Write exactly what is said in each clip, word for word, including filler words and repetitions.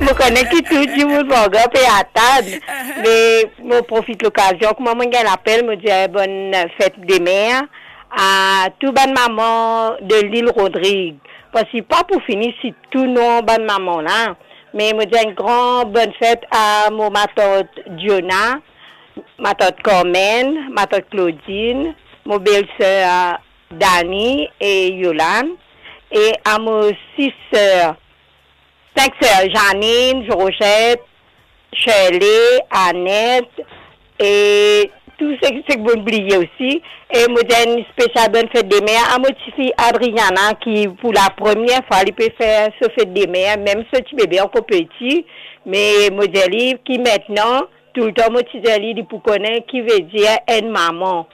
Mo kone ki tou dimoun Vangan pe atann, me mo profit lokazion, kouma mo gagn lapel, mo dir bonn fet de mer a tou bann mama de Lil Rodrig. Parski pa pou fini sit tou non bann mama la, me mo dir enn gran bonn fet a mo matant Diona, matant Carmen, matant Claudine, mo belser Dani e Yolan, e a mo sis ser, sink ser, Janine, Georgette, Shirley, Annette, e tou seki, seki mo bliye osi. E mo dir enn spesial bonn fet de mer a mo tifi Adriana, ki pou lapremier fwa li pe fer so fet de mer, mem so ti bebe ankor peti, me mo dir li ki aster, toultan mo ti dir li, li pou kone ki vedir enn mama.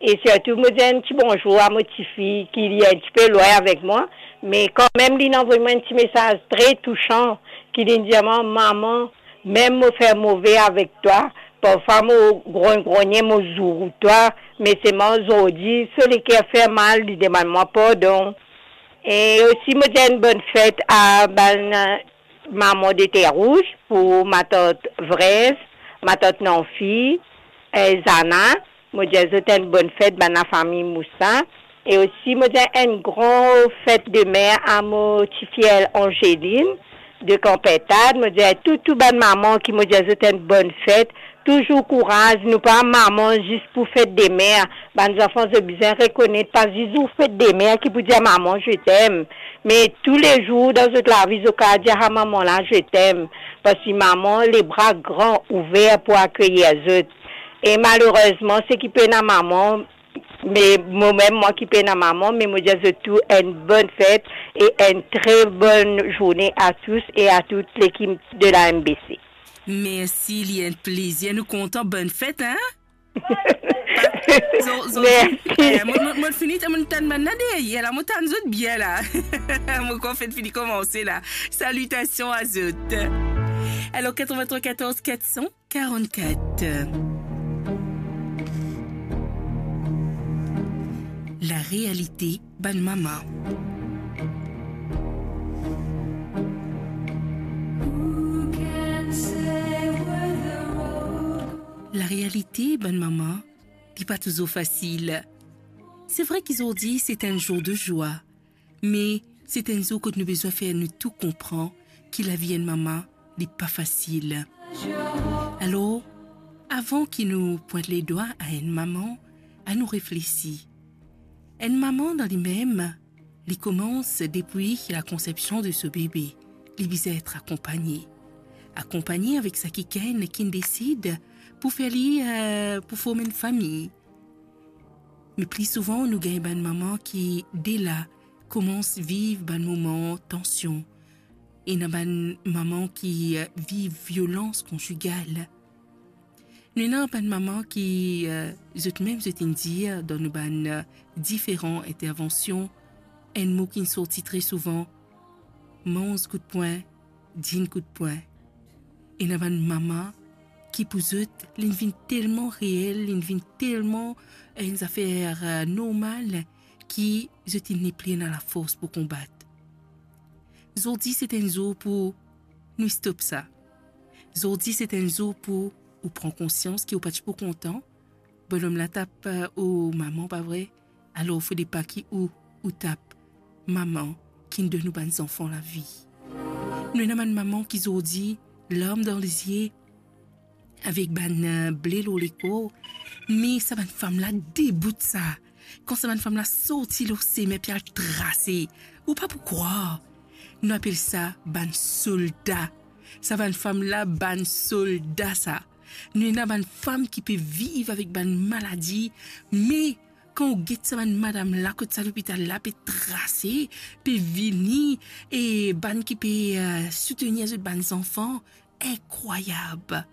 E sirtou mo dir enn ti bonzour a mo tifi, ki li enn tipe lwin avek mwa, me kanmem li inn avoy mwa enn ti mesaz tre tousan, ki li dir mwa, "Mama, mem mo fer move avek twa, parfwa mo grogn-grogne, mo zour twa, me selman zordi so leker fer mal, li demann mwa pardon." E osi mo dir enn bonn fet a bann mama de Terre Rouge, pou matant Vrez, matant Nanfi, e Zana, mo dir zot enn bonn fet, bann lafami Moussa. E osi mo dir enn gran fet de mer a mo tifi Angeline de Kanpertad, mo dir tou, tou bann mama ki mo dir zot enn bonn fet, touzour kouraz, nou pa mama zis pou fet de mer. Bann zanfan zot bizin rekonet, pa zis zour fet de mer ki pou dir mama, "Je t'aime." Me toulezour dan zot lavi, zot kapav dir a mama la, "Je t'aime." Parski mama, lebra gran ouver pou akeyir zot. E malerezman, seki pena mama, me momem mwa ki pena mama, me mo dir zot tou enn bonn fet e enn tre bonn zourne a tous e a tout lekip de la M B C. Mersi, li enn plezir, nou kontan, bonn fet, hein? Zo-, zo-, Mersi. Eh, mo, mo, mo fini, mo tann bann la deryer la, mo tann zot bien la. Mo krwar fet fini koumanse la. Salitasion a zot. Alor, quatre-vingt-trois quatorze quatre cent quarante-quatre. La realite bann mama. La realite bann mama, li pa touzour fasil. Se vre ki zordi se enn zour de zwa, me se enn zour kot nou bizin fer nou tou konpran ki lavi enn mama, li pa fasil. Alor, avan ki nou pwint ledwa a enn mama, anou reflesi. Enn mama dan limem, li koumans depi la konsepsion de so bebe, li bizin et akonpagne. Akonpagne avek sa kikenn ki'nn desid pou fer li, eh, pou form enn fami. Me pli souvan, nou gagn bann mama ki, de la, koumans viv bann moman tansion. Ena bann mama ki, eh, viv violans konzigal. Nou ena bann mama ki, eh, zot mem zot inn dir dan nou bann, eh, diferan intervansion, enn mo ki'nn sorti tre souvan, manz kout pwin, dinn kout pwin. Ena bann mama ki pou zot, li'nn vinn telman reel, li'nn vinn telman, eh, enn zafer, eh, normal, ki zot inn nepli ena lafors pou konbat. Zordi se enn zour pou nou stop sa. Zordi se enn zour pou ou pran konsians ki ou pa ti pou kontan. Bonom la tap, eh, ou mama, pa vre? Alor, fode pa ki ou, ou tap mama ki'nn donn ou bann zanfan lavi. Nou ena bann mama ki zordi, larm dan lezie, avek bann, eh, ble lor lekor, me sa bann fam la debout sa. Kan sa bann fam la sorti lor sime pou al trase, ou pa pou krwar. Nou apel sa bann solda. Sa bann fam la, bann solda sa. Nou ena bann fam ki pe viv avek bann maladi, me kan ou get sa bann madam la kot sa lopital la pe trase, pe vini, e bann ki pe, eh, soutenir zot bann zanfan, inkrwayab.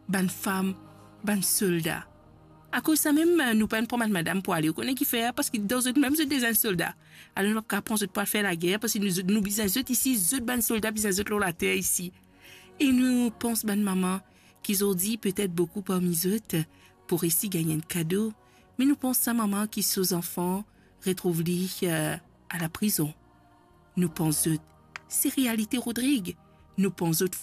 Bann fam, bann solda. Akoz sa mem, eh, nou pa'nn pran bann madam pou ale, ou kone kifer? Parski dan zot mem zot deza enn solda. Alor nou pa kav pran zot pou al fer lager, parski nou, nou bizin zot isi, zot bann solda bizin zot lor later isi. E nou pans bann mama ki zordi, petet boukou parmi zot pou resi gagn enn kado, me nou pans sa mama ki so zanfan retrouv li, eh, a laprizon. Nou pans zot, se realite Rodrig. Nou pans zot